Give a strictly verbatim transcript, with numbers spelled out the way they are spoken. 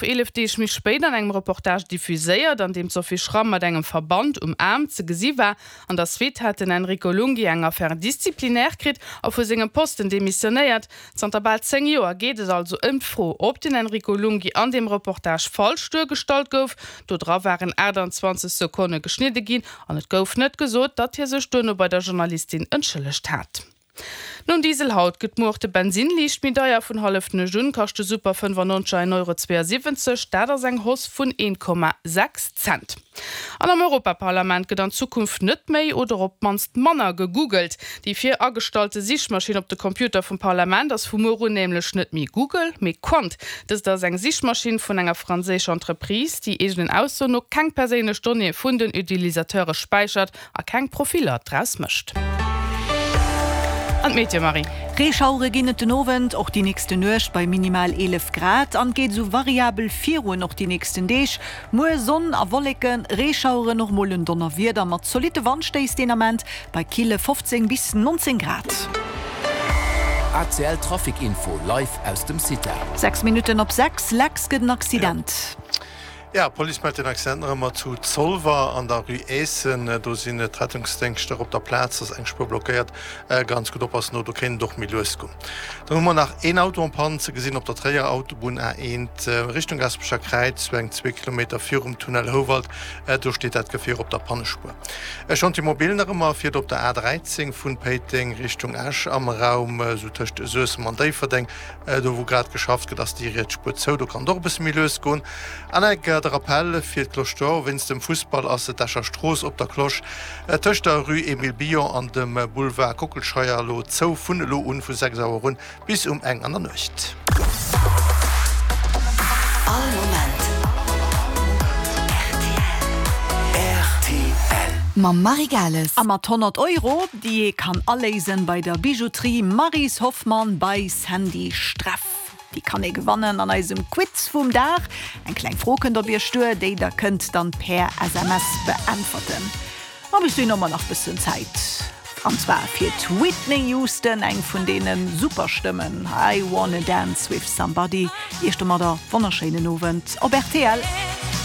Eelef Deeg méi spéit an engem Reportage diffuséiert, an deem d'Sophie Schramm mat engem Verband um Aarm ze gesi war. An der Suite hat den Enrico Lunghi eng Affaire disciplinaire kritt a vu sengem Posten demissionéiert. Zanter bal zéng Joer geet et also ëm d'Fro, ob den Enrico Lunghi an deem Reportage falsch duergestallt gouf. Do dra waren aachtanzwanzeg Sekonne geschnidde ginn an et gouf net gesot, datt hie sech duerno bei der Journalistin entschëllegt hat. Nom Diesel haut gëtt muer och de Bensinn liicht méi deier, Vun hallef nuecht un kascht de Super fënnefannonzeg en Euro zweeënsiwwenzeg, dat ass eng Hausse vun een Komma sechs Cent. An am Europaparlament gëtt an Zukunft net méi oder op d'mannst manner gegoogelt. Déi vir agestallte Sichmaschinn op de Computer vum Parlament ass vu muer un nämlech net méi Google, mee Qwant. Dëst ass eng Sichmaschinn vun enger franséischer Entreprise, déi eegenen Aussoen no keng perséinlech Donnéeë vun den Utilisateure späichert a keng Profiller draus mécht. An d'Meteo, Marie. Reeschauere ginn et den Owend, och déi nächste Nuecht bei minimal eelef Grad an geet esou variabel virun och déi nächsten Deeg. Muer Sonn a Wolleken, Reeschaueren, och mol en Donnerwieder mat zolitte Wandstéiss deen Ament bei kille fofzéng bis nonzéng Grad. A C L Trafic Info live aus dem CITA. Sechs Minutten op sechs, Lex, gëtt en Accident. Ja, d'Police mellt en Accident nach ëmmer zu Zolwer an der Rue Eessen. Do sinn d'Rettungsdéngschter op der Plaz, ass eng Spuer blockéiert. Ganz gutt oppassen do, do kéint et och méi lues goen. Dann hu mer nach een Auto en panne ze gesinn op der Tréierer Autobunn A eent Richtung Gasperecher Kräiz, sou eng zwee Kilometer virum Tunnel Houwald. Do steet dat Gefier op der Pannespuer. E Chantier mobile nach ëmmer fiert op der A dräizéng vun Péiteng Richtung Esch am Raum sou tëscht Suessem an Déifferdeng. Do wou grad geschafft gëtt ass déi riets Spuer zou, do kann et och e bësse méi lues goen. An eng Kéier de Rappel fir d'Cloche d'Or, Wéinst dem Fussball ass d'Escher Strooss op der Cloche tëscht der Rue Emile Billon an dem Boulevard Kockelscheier elo zou, vun elo un vu sechs Auer un bis um eng an der Nuecht. All Moment rtl. Mam Marie Gales. A mat honnert Euro, déi ee kann aléisen bei der Bijouterie Maryse Hoffmann by Sandy Streff. Déi kann ee gewannen an eisem Quiz vum Dag. Eng kleng Fro kënnt op Iech duer, déi der kënnt dann per S M S beäntwerten. Ma bis dohin hu mer nach bëssen Zäit. An zwar fir d'Whitney Houston, eng vun deene Superstëmmen, I Wanna Dance With Somebody. Iech domadder wonnerschéinen Owend op R T L.